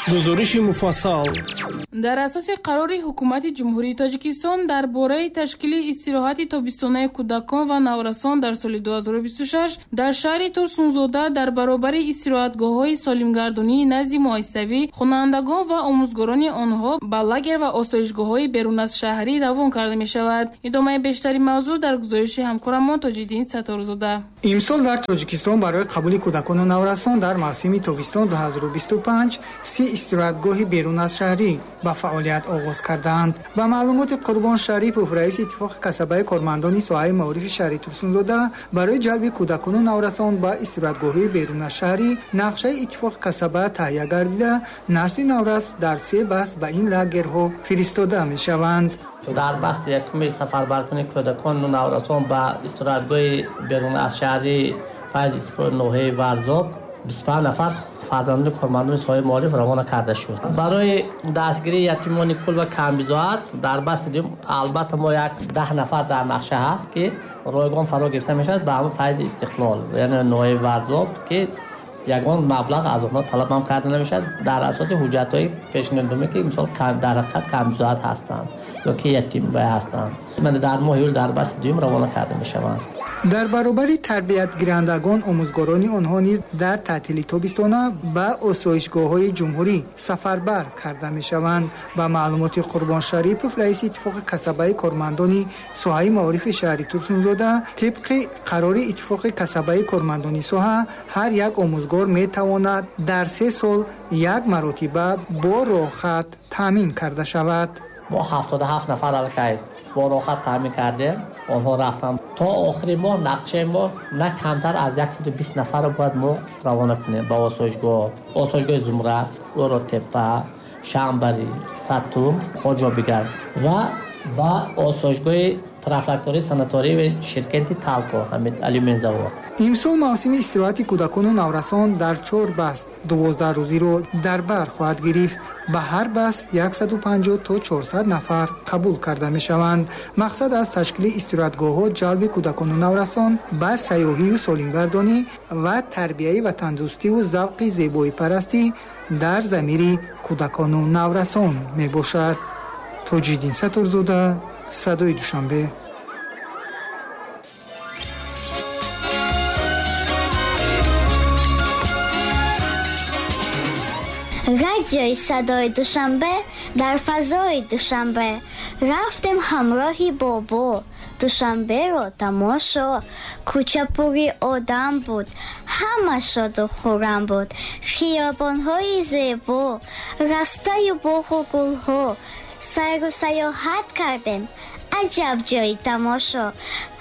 Гузориши муфассал. Дар асоси қарори ҳукумати Ҷумҳурии Тоҷикистон дар бораи ташкили истироҳати тобистонаи кӯдакон ва наврасон дар соли 2026 дар шаҳри Турсунзода дар баробари истироҳатгоҳҳои солимгардонии назди муассисавӣ хонандагон ва омӯзгорони онҳо ба лагер ва осоишгоҳҳои берун аз шаҳрӣ равон карда мешавад. Идомаи бештари мавзӯъ дар гузориши ҳамкорамон Тоҷиддин Сатторзода. Имсол дар Тоҷикистон барои қабули кӯдакону наврасон дар мавсими тобистон 2025 30 истироҳатгоҳи берун аз шаҳрӣ ба фаъолият оғоз кардаанд. Ба маълумоти Қурбон Шарипов, раиси иттифоқи касабаи кормандони соҳаи маорифи шаҳри Турсунзода, барои ҷалби кӯдакону наврасон ба истироҳатгоҳҳои берун аз шаҳрӣ нақшаи иттифоқи касаба таҳия гардида, насли наврас дар 3 баст ба ин лагерҳо фиристода мешаванд. Дар басти якуми сафарбаркунии кӯдакону наврасон ба истироҳатгоҳи берун аз шаҳрӣ Файзи Истиқлоли ноҳияи Варзоб 25 нафар фарзандони кормандони соҳаи маориф равона карда шуд. Барои дастгирии ятимони кул ва камбизоат дар басти дуюм албатта мо як 10 нафар дар нақша ҳаст, ки ройгон фаро гирифта мешавад ба ҳамон Файзи Истиқлол, яъне ноҳияи Варзоб, ки ягон маблағ аз онҳо талаб ҳам карда намешавад дар асоси ҳуҷҷатҳои пешниҳоднома, ки мисол дар ҳақиқат камбизоат ҳастанд ё ки ятим ҳастанд. Дар моҳи июл дар басти дуюм равона карда мешаванд. Дар баробари тарбиятгирандагон омӯзгорони онҳо низ дар таътили тобистона ба осоишгоҳҳои ҷумҳурӣ сафарбар карда мешаванд. Ба маълумоти Қурбон Шарипов, раиси иттифоқи касабаи кормандони соҳаи маорифи шаҳри Турсунзода, тибқи қарори иттифоқи касабаи кормандони соҳа ҳар як омӯзгор метавонад дар 3 сол як маротиба бо роҳхат таъмин карда шавад. Мо 77 нафар аллакай бо роҳхат таъмин кардем. Онҳо рафтанд. То охири моҳ нақшаи мо на камтар аз 120 нафарро бояд мо равона кунем ба осоишгоҳ. Осоишгоҳи Зумрад, Оротепа, Шамбарӣ, Сатум, Хоҷобигар ва ба осоишгоҳи профилактории санатории ширкати Талко, ҳамин алюмин завод. Имсол мавсими истироҳати кӯдакону наврасон дар 4 баст 12 рӯзиро дар бар хоҳад гирифт. Ба ҳар баст 150 то 400 нафар қабул карда мешаванд. Мақсад аз ташкили истироҳатгоҳҳо ҷалби кӯдакону наврасон ба сайёҳию солимгардонӣ ва тарбияи ватандӯстиву завқи зебоипарастӣ дар замири кӯдакону наврасон мебошад. Тоҷиддин Сатторзода, Садои Душанбе. Радиои Садои Душанбе дар фазои Душанбе. Рафтем ҳамроҳи бобо, Душанберо тамошо. Кӯча пури одам буд, ҳама шоду хуррам буд. Хиёбонҳои зебо, растаю боғу гулҳо. Сайру сайёҳат кардем, аҷаб ҷои тамошо.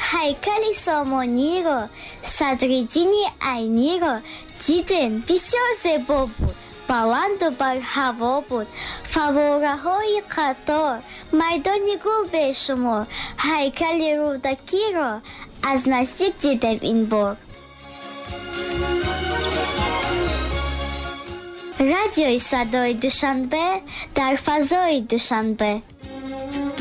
Ҳайкали Сомониро, Садриддини Айниро дидем, бисёр зебо буд, баланду барҳаво буд. Фаввораҳои қатор, майдони гул бешумор. Ҳайкали Рӯдакиро аз наздик дидем ин бор. Радиои Садои Душанбе дар фазои Душанбе.